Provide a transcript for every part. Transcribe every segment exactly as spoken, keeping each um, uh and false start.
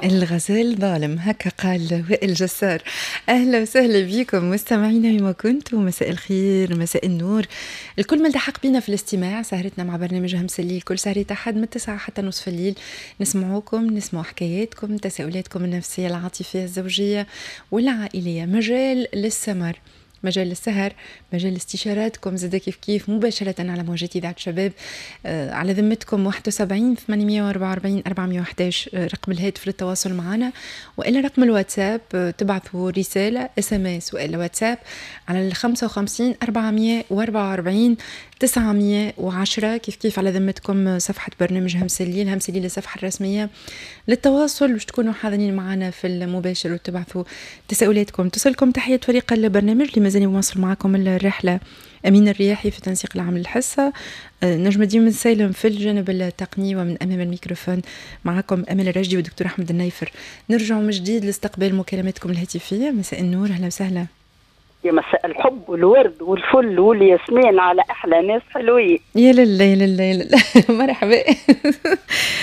الغزال ظالم، هكا قال وائل جسار. اهلا وسهلا بكم مستمعينا وين ما كنتم، مساء الخير، مساء النور. الكل من التحق بنا في الاستماع، سهرتنا مع برنامج همس الليل كل سهرة أحد من تسعة حتى نصف الليل، نسمعوكم، نسمع حكاياتكم، تساؤلاتكم النفسية، العاطفية، الزوجية والعائلية. مجال للسمر، مجال السهر، مجال استشاراتكم زاد كيف كيف مباشرة على موجات إذاعة شباب. آه على ذمتكم واحد وسبعين ثمانمية وأربعة وأربعين أربعمية وأحد عشر آه، رقم الهاتف للتواصل معنا، وإلا رقم الواتساب، آه تبعثوا رسالة SMS وإلا واتساب على ال خمسة وخمسين أربعمية وأربعة وأربعين تسعمية وعشرة. كيف كيف على ذمتكم صفحة برنامج همس الليل، همس الليل الصفحة الرسمية للتواصل، باش تكونوا حاضرين معنا في المباشر وتبعثوا تساؤلاتكم. تصلكم تحية فريق البرنامج اللي مازال يواصل معكم الرحلة: أمين الرياحي في تنسيق العام للحصة، آه، نجم الدين بن سالم في الجانب التقني، ومن أمام الميكروفون معكم أمل الرشدي والدكتور أحمد النيفر. نرجع من جديد لاستقبال مكالماتكم الهاتفية. مساء النور، أهلا وسهلا. يا مساء الحب والورد والفل والياسمين على احلى ناس حلوين. يا لله يا لله يا لله، مرحبا.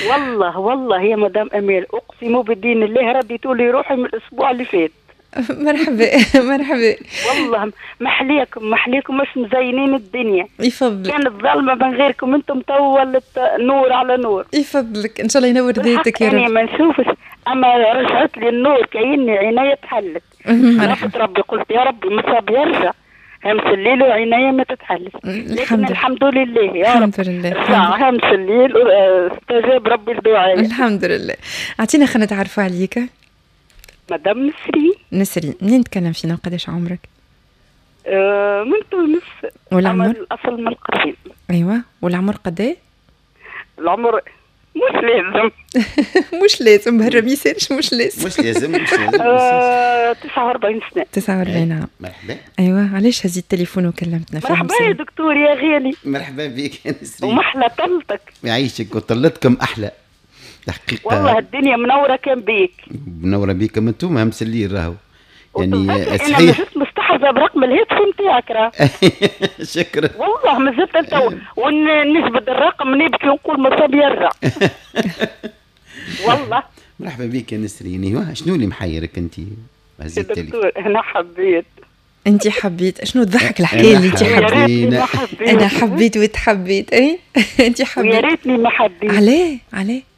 والله والله يا مدام امال، اقسم بدين الله رديتوا لي روحي من الاسبوع اللي فات. مرحبا مرحبا. والله محليكم محليكم، مش مزينين الدنيا. يفضلك. كانت ظلمه من غيركم انتم، تو ولت نور على نور. يفضلك، ان شاء الله ينور ذاتك يا رب. يعني ما نشوفش، اما رجعت لي النور، كأني عيني تحلت. مرحبا. ربي، قلت يا ربي مصاب يرجع همس الليل وعيني ما تتحلش، لكن الحمد لله يا رب. الحمد لله. رجع همس الليل، استجاب ربي لدعائي. الحمد لله. اعطينا خلينا نتعرفوا عليك. مدام نسرين. نسرين، منين تكلم فينا وقداش عمرك؟ آه من تونس. والعمر؟ الأصل من القصرين. ايوه، والعمر قداه؟ العمر مش لازم. مش لازم، بهرب يسالش، مش لازم. مش لازم، مش لازم. آه تسعة وأربعين سنة. تسعة وأربعين عام. مرحبا. ايوه، علاش هزيت التليفون وكلمتنا؟ في مرحبا يا دكتور يا غالي. مرحبا بك يا نسرين. ومحلى طلتك. يعيشك، وطلتكم احلى الحقيقة. والله الدنيا منورة كان بيك. منورة بيكم انتم، همس الليل راهو يعني صحيح. انا مازلت مستحفظه برقم الهاتف نتاعك راه. شكرا. والله مازلت انت ونجبد الرقم نبكي ونقول مصاب يرجع والله. مرحبا بك يا نسرين. ايوه، شنو اللي محيرك انت؟ هزيت دكتور، انا حبيت. انت حبيت، شنو تضحك الحكاية اللي انت حبيت؟ انا حبيت وتحبيت، اي انت حبيت. يا ريتني ما حبيت. عليه عليه؟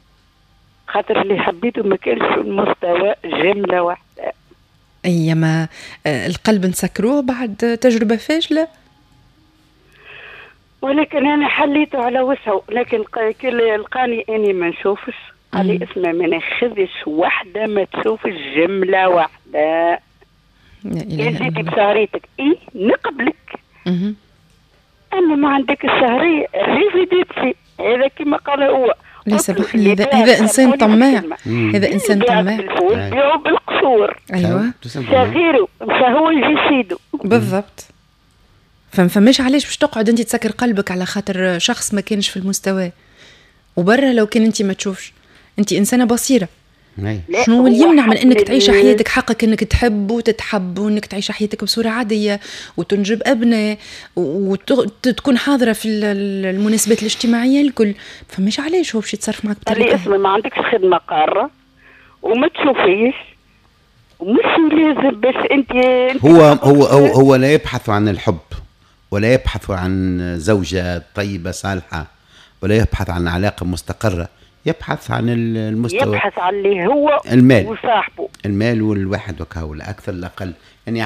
خاطر اللي حبيته ما كانش في المستوى جملة واحده. اي ما آه، القلب نسكروه بعد تجربه فاشله. ولكن انا حليته على وسعه، لكن كل لقاني اني ما نشوفش، قال لي اسمع، ما ناخذش وحده ما تشوفش جملة واحده، كان جيتي بشهريتك اي نقبلك، اما ما عندك الشهرية ريفيديتي، هذا كما قال هو. لا سامحني، هذا هذا انسان طماع، هذا انسان طماع. بيعوا بالقشور. ايوه. غيره فهو يجي سيدو. بالضبط، فما فماش علاش باش تقعد انت تسكر قلبك على خاطر شخص ما كانش في المستوى. وبرا لو كان انت ما تشوفش، انت انسانه بصيره، شنو اللي يمنع من انك تعيش حياتك؟ حقك انك تحب وتتحب وانك تعيش حياتك بصورة عادية وتنجب ابناء وتكون حاضره في المناسبات الاجتماعية الكل. فماش علاش هو باش يتصرف معك بطريقة اسمع، ما عندكش خدمة قارة وما تشوفيش ومش لازم باش انت هو هو هو هو لا يبحث عن الحب ولا يبحث عن زوجة طيبة صالحة ولا يبحث عن علاقة مستقرة، يبحث عن المستوى. يبحث عن اللي هو المال وصاحبه. المال والواحد وكهو، لا أكثر لا أقل يعني.